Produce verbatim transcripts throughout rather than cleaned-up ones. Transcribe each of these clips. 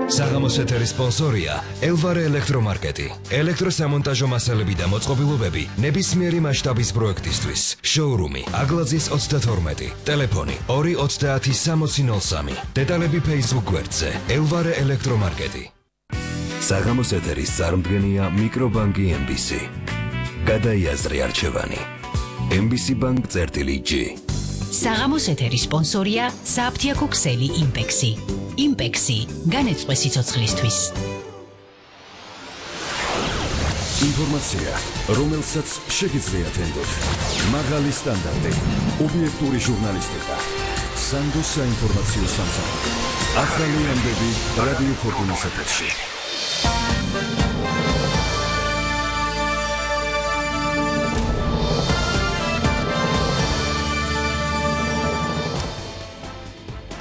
საღამოს ეთერის სპონსორია ელვარე ელექტრომარკეტი. ელექტროსამონტაჟო მასალები და მოწყობილობები ნებისმიერი მასშტაბის პროექტისთვის. შოურუმი აგლაძის ოცდათორმეტი. ტელეფონი ორი ოცდაათი სამოცი ნოლ სამი. დეტალები Facebook გვერდზე ელვარე ელექტრომარკეტი. საღამოს ეთერის წარმდგენია მიკრობანკი ემ ბი სი. გადაიაზრე არჩევანი. ემ ბი სი ბანკ წერტილი ჯი. საღამოს ეთერის სპონსორია საფთიაქო ქსელი იმპექსი. იმპექსი განეწყვე სიცოცხლისთვის. ინფორმაცია, რომელსაც შეგიძლიათ ენდოთ. მაღალი სტანდარტი, ობიექტური ჟურნალისტიკა. სანდო საინფორმაციო სამსახური. ახალი ამბები რადიო ფორტუნას ეთერში.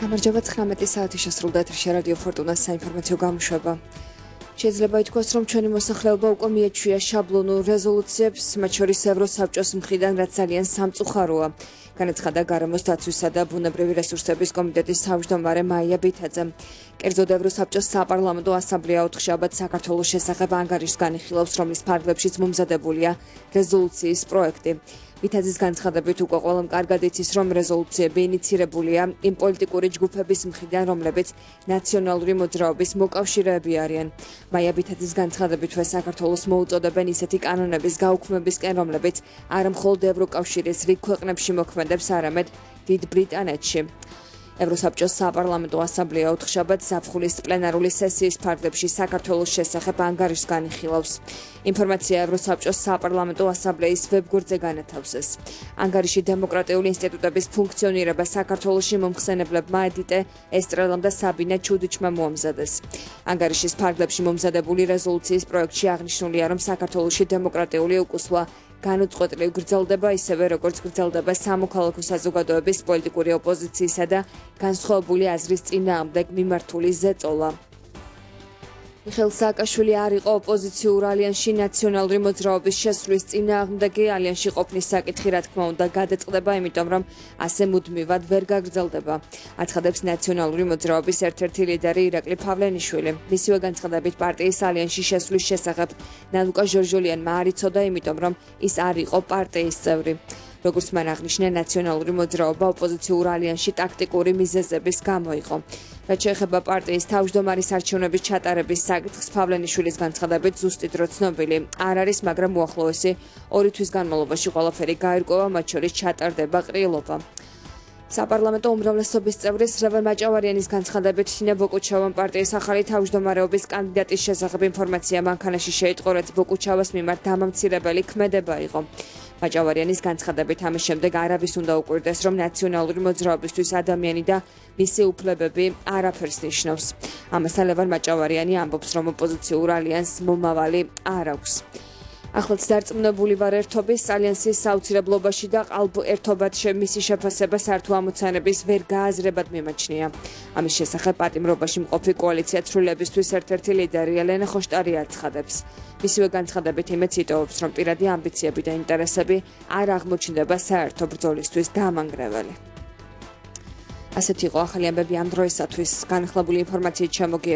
გამარჯობა, ცხრამეტი საათი შესრულდა ეთერში რადიო ფორტუნას საინფორმაციო გამოშვება. შეიძლება ითქვას, რომ ჩვენი მოსახლეობა უკვე მიეჩვია შაბლონურ რეზოლუციებს, მათ შორის ევროსაბჭოს მხრიდან, რაც ძალიან სამწუხაროა. განაცხადა გარემოს დაცვისა და ბუნებრივი რესურსების კომიტეტის თავმჯდომარე მაია ბითაძე. კერძოდ ევროსაბჭოს საპარლამენტო ასამბლეა ოთხშაბათს საქართველოს შესახებ ანგარიშს განიხილავს, რომლის ფარგლებშიც მომზადებულია რეზოლუციის პროექტი. ბითაძის განცხადებით უკვე ყველამ კარგად იცის, რომ რეზოლუციები ინიცირებულია იმ პოლიტიკური ჯგუფების მხრიდან, რომლებიც ნაციონალური მოძრაობის მოკავშირეები არიან. მაია ბითაძის განცხადებითვე საქართველოს მოუწოდებენ ისეთი კანონების გაუქმებისკენ, რომლებიც არა მხოლოდ ევროკავშირის რიგ ქვეყნებში მოქმედებს, არამედ დიდ ბრიტანეთში. ევროსაბჭოს საპარლამენტო ასამბლეა ოთხშაბათს ზაფხულის პლენარული სესიის ფარგლებში საქართველოს შესახებ ანგარიშს განიხილავს. ინფორმაცია ევროსაბჭოს საპარლამენტო ასამბლეის ვებგვერდზე განათავსეს. ანგარიში დემოკრატიული ინსტიტუტების ფუნქციონირება საქართველოში მომხსენებლებმა ედიტე ესტრელამ და საბინე ჩუდიჩმა მოამზადეს. ანგარიშის ფარგლებში მომზადებული რეზოლუციის პროექტში აღნიშნულია, რომ საქართველოში დემოკრატიული უკუსვა განუწყვეტლივ გრძელდება, ისევე როგორც გრძელდება სამოქალაქო საზოგადოების პოლიტიკური ოპოზიციისა და განსხვავებული აზრის წინააღმდეგ მიმართული ზეწოლა. მიხეილ სააკაშვილი არ იყო ოპოზიციურ ალიანსში ნაციონალური მოძრაობის შესვლის წინააღმდეგი. ალიანსში ყოფნის საკითხი, რა თქმა უნდა, გადაწყდება, იმიტომ რომ ასე მუდმივად ვერ გაგრძელდება. აცხადებს ნაციონალური მოძრაობის ერთ-ერთი ლიდერი ირაკლი ფავლენიშვილი. მისივე განცხადებით პარტიის ალიანსში შესვლის შესახებ ნალუკა ჟორჟოლიანმა არ იცოდა, იმიტომ რომ ის არ იყო პარტიის წევრი. როგორც მან აღნიშნა, ნაციონალური მოძრაობა ოპოზიციურ ალიანსში ტაქტიკური მიზეზების გამო იყო. რაც შეეხება პარტიის თავმჯდომარის არჩევნების ჩატარების საკითხს, ფავლენიშვილის განცხადებით ზუსტი დრო ცნობილი არ არის, მაგრამ უახლოესი ორი თვის განმავლობაში ყველაფერი გაირკვევა, მათ შორის ჩატარდება ყრილობა. საპარლამენტო უმრავლესობის წევრის რევენ მაჭავარიანის განცხადებით, თინა ბოკუჩავამ პარტიის ახალი თავმჯდომარეობის კანდიდატის შესახებ ინფორმაცია მანქანაში შეიტყო, რაც ბოკუჩავას მიმართ დამამცირებელი ქმედება იყო. მაჭავარიანის განცხადებით, ამის შემდეგ არავის უნდა უკვირდეს, რომ ნაციონალური მოძრაობისთვის ადამიანი და მისი უფლებები არაფერს ნიშნავს. ამასთან ლევან მაჭავარიანი ამბობს, რომ ოპოზიციურ ალიანსს მომავალი არ აქვს. ახლაც დარწმუნებული ვარ ერთობის ალიანსის საოცრებლობაში და ყალბ ერთობად მისი შეფასება სართო ამოცანების ვერ გააზრებად მიმაჩნია. ამის შესახებ პატიმრობაში მყოფი კოალიცია ცვლილებისთვის ერთ-ერთი ლიდერი ელენე ხოშტარი აცხადებს. მისივე განცხადებით იმედს იტოვებს, რომ პირადი ამბიციები და ინტერესები არ აღმოჩნდება საერთო ბრძოლისთვის დამანგრეველი. ასეთი იყო ახალი ამბები ამ დროისათვის. განახლებული ინფორმაციით შემოგიერთდით.